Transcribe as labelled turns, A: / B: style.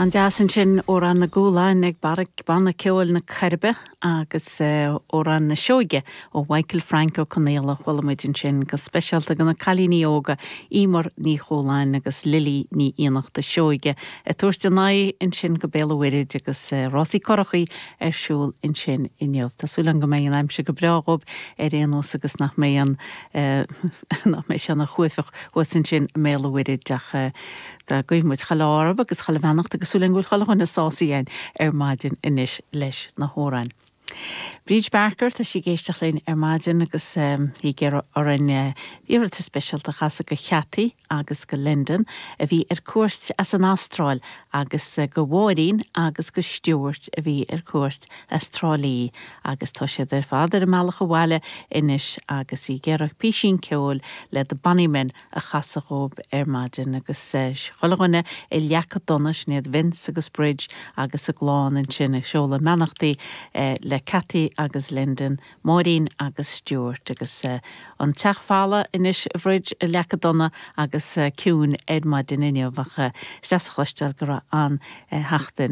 A: An-deas ansin, Amhrán na gCúlán ag Banna Ceoil na Coiribe agus Amhrán na Sióige ó Mhichael Frank Ó Conaola a chuala muid ansin go speisialta do na cailíní óga Emer Ní Chualáin agus Lily Ní Fhiannachta Seoige ag tabhairt a n-aghaidh ansin go Béal an Mhuirthid agus rásaí curachaí ar siúl ansin inniu. Tá súil agam go mbeidh an aimsir go breá dhóibh ar aon nós agus nach mbeidh an nach mbeidh sé ina chuaifeach thuas ansin i mBéal an Mhuirthid ach dá guífidh muid chuile ádh orthu agus chuile bheannacht agus súil agam go bhfuil chuile dhuine sásaithe againn ar maidin anois leis na hamhráin. Bríd Barker, tá sí ag éisteacht linn ar maidin agus í ag iarraidh orainn iarratas speisialta a chasadh go Chathy agus go Lyndon a bhí ar cuairt as an Astráil agus go Mháirín agus go Stuart a bhí ar cuairt as Trá Lí agus tá siad ar fad ar a mbealach abhaile anois agus í ag iarraidh písín ceoil le The Bonnymen a chasadh dhóibh ar maidin agus chuile dhuine i Leac Donna, sin iad Vince agus Bridge agus a gclann ansin ag seoladh a mbeannachtaí le Cathy agus Lyndon, Máirín agus Stuart agus an teach folamh anois a Bhridge i Leac Donna agus ciúin ar maidin inniu ach is deas a chloisteáil go raibh an-sheachtain.